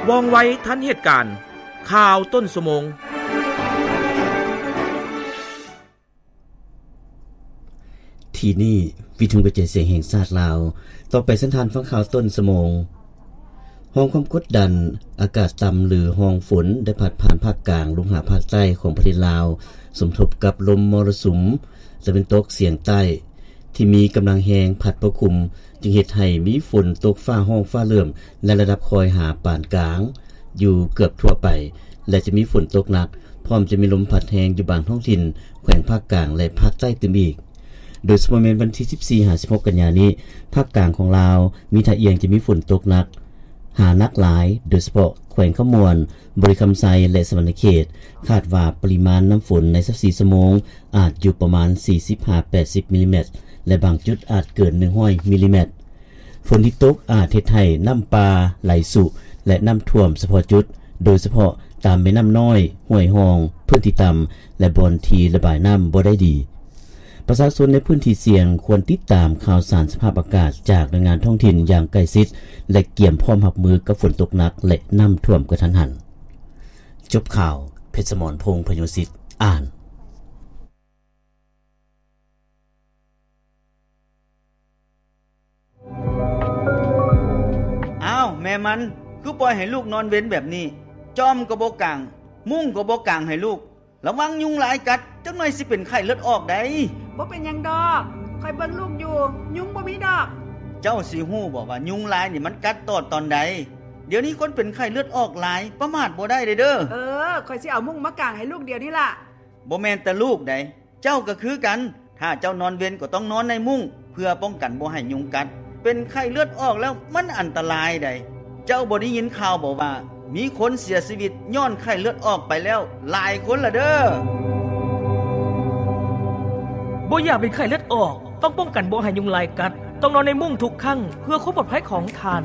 ວ່ອງໄວທັນເຫດການ, ຂ່າວຕົ້ນຊົ່ວໂມງ. ທີ່ນີ້ ວິທຍຸກະຈາຍສຽງແຫ່ງຊາດລາວ. ຕໍ່ໄປເຊີນທ່ານຟັງຂ່າວຕົ້ນຊົ່ວໂມງ. ຮ່ອງຄວາມກົດດັນອາກາດຕ່ຳ ຫຼື ຮ່ອງຝົນ ໄດ້ພັດຜ່ານພາກກາງລົງຫາພາກໃຕ້ຂອງປະເທດລາວ, ສົມທົບກັບລົມມໍລະສຸມຕາເວັນຕົກສຽງໃຕ້ ທີ່ມີກຳລັງແຮງພັດປົກຄຸມ, ຈຶ່ງເຮັດໃຫ້ມີຝົນຕົກຟ້າຮ້ອງຟ້າເຫຼື້ອມ ໃນລະດັບຄ່ອຍຫາປານກາງ ຢູ່ເກືອບທົ່ວໄປ ແລະ ຈະມີຝົນຕົກໜັກ, ພ້ອມຈະມີລົມພັດແຮງຢູ່ບາງທ້ອງຖິ່ນ ແຂວງພາກກາງ ແລະ ພາກໃຕ້ຕື່ມອີກ. ໂດຍສະເພາະແມ່ນວັນທີສິບສີ່ຫາສິບຫົກກັນຍານີ້, ພາກກາງຂອງລາວ ມີທ່າອ່ຽງຈະມີຝົນຕົກໜັກ ຫາໜັກຫຼາຍ, ໂດຍສະເພາະແຂວງຄຳມ່ວນ, ບໍລິຄຳໄຊ ແລະ ສະຫວັນນະເຂດ, ຄາດວ່າປະລິມານນ້ຳຝົນໃນຊາວສີ່ຊົ່ວໂມງ ອາດຢູ່ປະມານສີ່ສິບຫາແປດສິບມິລລີແມັດ ແລະ ບາງຈຸດອາດເກີນໜຶ່ງຮ້ອຍມິລລີແມັດ. ຝົນທີ່ຕົກອາດເຮັດໃຫ້ນ້ຳປ່າໄຫຼຊຸ ແລະ ນ້ຳຖ້ວມສະເພາະຈຸດ, ໂດຍສະເພາະຕາມແມ່ນ້ຳນ້ອຍ, ຫ້ວຍຮ່ອງ, ພື້ນທີ່ຕ່ຳ ແລະ ບ່ອນທີ່ລະບາຍນ້ຳບໍ່ໄດ້ດີ. ປະຊາຊົນໃນພື້ນທີ່ສ່ຽງຄວນຕິດຕາມຂ່າວສານສະພາບອາກາດຈາກໜ່ວຍງານທ້ອງຖິ່ນຢ່າງໃກ້ຊິດ ແລະ ກຽມພ້ອມຮັບມືກັບຝົນຕົກໜັກ ແລະ ນ້ຳຖ້ວມກະທັນຫັນ. ຈົບຂ່າວ, ເພັດສະໝອນ ພົງພະໂຍສິດ ອ່ານ. ອ້າວ ແມ່ມັນ ຄືປ່ອຍໃຫ້ລູກນອນເວັນແບບນີ້? ຈອມກໍບໍ່ກາງ, ມຸ້ງກໍບໍ່ກາງໃຫ້ລູກ. ລະວັງຍຸງລາຍກັດ, ຈັກໜ່ອຍຊິເປັນໄຂ້ເລືອດອອກໃດ໋. ບໍ່ເປັນຫຍັງດອກ, ຂ້ອຍເບິ່ງລູກຢູ່, ຍຸງບໍ່ມີດອກ. ເຈົ້າຊິຮູ້ບໍ່ວ່າຍຸງລາຍນີ້ມັນກັດຕອດຕອນໃດ? ດຽວນີ້ຄົນເປັນໄຂ້ເລືອດອອກຫຼາຍ, ປະໝາດບໍ່ໄດ້ເດີ້. ເອີ, ຂ້ອຍຊິເອົາມຸ້ງມາກາງໃຫ້ລູກດຽວນີ້ລະ. ບໍ່ແມ່ນແຕ່ລູກໃດ໋, ເຈົ້າກໍຄືກັນ. ຖ້າເຈົ້ານອນເວັນກໍຕ້ອງນອນໃນມຸ້ງ ເພື່ອປ້ອງກັນບໍ່ໃຫ້ຍຸງກັດ. ເປັນໄຂ້ເລືອດອອກແລ້ວມັນອັນຕະລາຍໃດ໋. ເຈົ້າບໍ່ໄດ້ຍິນຂ່າວບໍ່ວ່າ ມີຄົນເສຍຊີວິດຍ້ອນໄຂ້ເລືອດອອກໄປແລ້ວຫຼາຍຄົນລະເດີ້. ບໍ່ຢາກເປັນໄຂ້ເລືອດອອກ, ຕ້ອງປ້ອງກັນບໍ່ໃຫ້ຍຸງລາຍກັດ, ຕ້ອງນອນໃນມຸ້ງທຸກຄັ້ງ ເພື່ອຄວາມປອດໄພຂອງທ່ານ.